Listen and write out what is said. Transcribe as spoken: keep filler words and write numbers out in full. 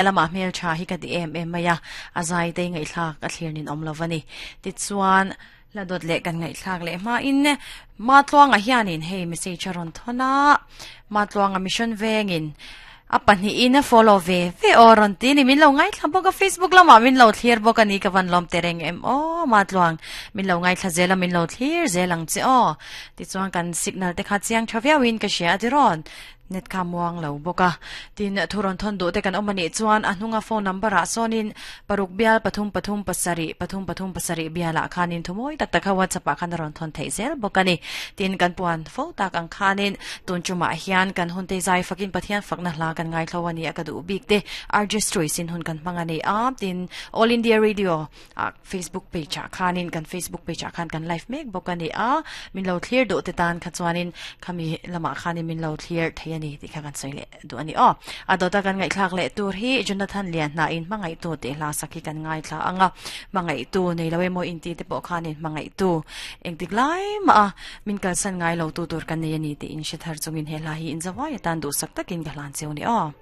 Lama hmel tha hi ka ti em em mai a, a zai te ngaihthlak a thlir nin awm lovani. Tichuan la dawt leh kan ngaihthlak leh hma in Matluanga hianin hei message a rawn thawn a, Matluanga Mission Vengin a pahnih in a follow ve ve aw rawn ti ni. Min lo ngaithla bawk a, Facebook lamah min lo thlir bawk a ni, ka van lawm tereng em aw Matluang, min lo ngaithla zel a, min lo thlir zel ang che aw. Tichuan kan signal te kha chiang tha viauin ka hria a ti rawn, net kha muang lo bawk a. Tin thu rawn thawn duh te kan awm anih chuan a hnunga phone number ah sawnin paruk bial pathum pathum pasarih pathum pathum pasarih bialah khanin thumawi tak tak kha WhatsApp ah khan a rawn thawn theih zel bawk a ni. Tin kan puan fo tak ang khanin tun tumah hian kan hun te zai fakin Pathian fakna hla kan ngaithlo a ni a, ka duh bik te R J Stories in hun kan hmang a ni a. Tin All India Radio a Facebook page ah khanin kan Facebook page ah khan kan live mek bawk a ni a, min lo thlir duh te tan kha chuanin khami lamah khanin min lo thlir thei a ni tih kha kan sawi leh duh a ni aw. A dawta kan ngaihthlak leh tur hi Jonathan Lianhna in hmangaihtu tih hla sak hi kan ngaithla anga, hmangaihtu nei lo emaw inti te pawh khanin hmangaihtu engtik lai mah a min kalsan ngai lo tu tur kan nei a ni tih in hre thar chungin he hla hi inzawai atan duhsak takin ka hlan cheu ni aw.